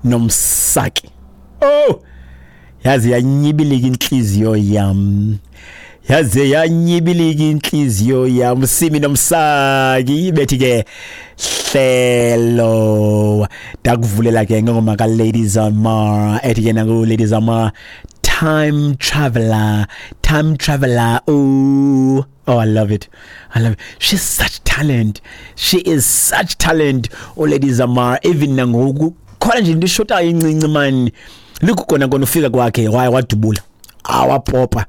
Nomsaki. Oh, yaze yanyibilika inhliziyo yam, yaze yanyibilika inhliziyo yam. Simi Nomsaki bethi ke hlelo. Ndakuvulela ke ngengoma ka Lady Zamar ethi ke nangu Lady Zamar, "Time Traveler", "Time Traveler". Oh, oh, I love it, I love it. She's such talent, she is such talent, oh Lady Zamar. Even nangoku khona nje into ishotayo incinci man, likukona kona ufika kwakhe waye wadubula awapopa,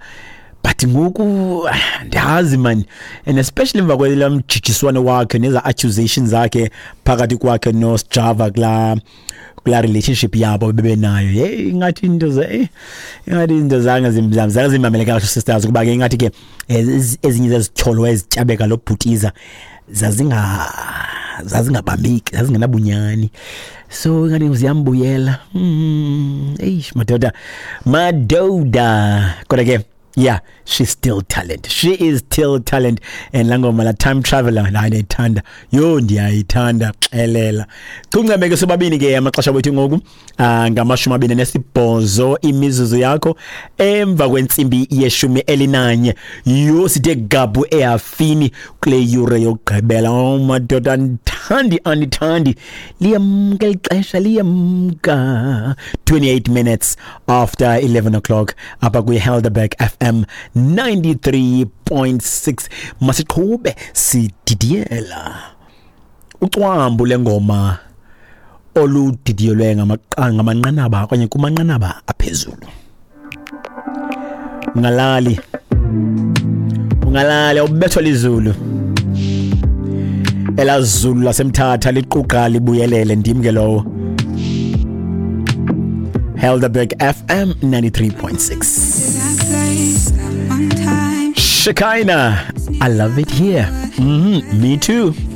but ngoku ndiyazi man, and especially emva kwela mjijiswano wakhe neza accusations zakhe phakathi kwakhe no Sjava kula relationship yabo bebenayo. Hey, ingathi into ze ingathi into zange zimamele kahle sisters, kuba ke ingathi ke ezinye zezityholo ezityabeka lo bhutiza zazingabambeki, zazingenabunyani, so ingathi ziyambuyela. Eish madoda, madoda, kodwa ke yeah, she's still talent, she is still talent. And la ngoma la "Time Traveler" hayi, ndiyayithanda yo, ndiyayithanda xelela. Kuncame ke sobabini ke amaxesha wethu ngoku ngama-28 imizuzu yakho emva kwentsimbi ye-11. Yho, sithe gabhu ehafini kule yure yokugqibela. Oh madoda, andithandi, andithandi, liyamka lixesha, liyamka. 28 minutes after 11 o'clock apha kwi-Helderberg FM 93.6. Masiqhube sididiyela ucwambu lengoma oludidiyelwe ngamanqanaba okanye kumanqanaba aphezulu. Ungalali, ungalali, awubethwa lizulu elazulu laseMthatha liquqa libuyelele. Ndim ke lowo, Helderberg FM 93.6. Shekinah, "I Love It Here". Me too.